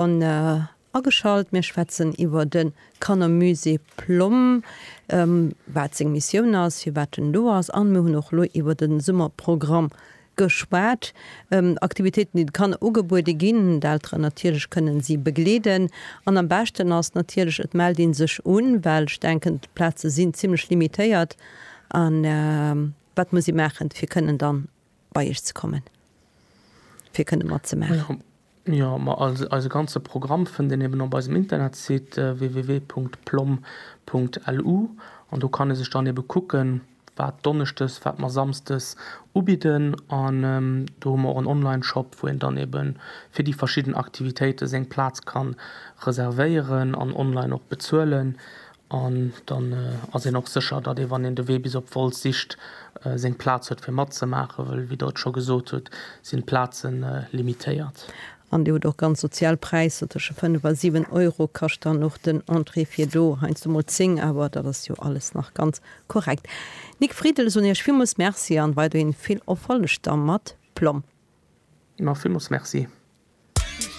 An ageschalt. Mir schwätzen iwwer de Kannermusée Plomm, wat seng Missioun ass, firwat en do ass an mir hunn och elo iwwer de Summerprogramm geschwat. Aktivitéiten, déi de Kanner ugebuede ginn, d'Elteren natierlech kënnen si begleeden an am beschten ass natierlech et mellt ee sech un, well ech denken d'Plaze sinn zimmlech limitéiert. An wat muss ee maachen, fir kënnen dann bei iech ze kommen, fir kënne matzemaachen? Jo, ma eise ganze Programm fënnt een eben op eisem Internetsite www.plomm.lu an do kann ee sech dann ebe kucken, wat donneschdes, wat mer samsdes ubidden an do hu mer och en Online-Shop, wou een dann ebe fir déi verschidden Aktivitéite seng Plaz ka reservéieren an online och bezuelen. An dann ass een och sécher, datt ee wann een de Wee bis op Wolz sicht, seng Plaz huet fir matzemaachen, wëll wéi Der et scho gesot hutt, sinn d'Plaze limitéiert. An Dir hutt och ganz sozial Präisser, tësche 5 a 7 Euro kascht dann och den Entrée fir do, heiansdo mol 10, awer dat ass jo alles nach ganz korrekt. Nic Friedel, ech soen Iech villmools Merci an weiderhin vill Erfolleg da mat Plomm. Ma villmools Merci.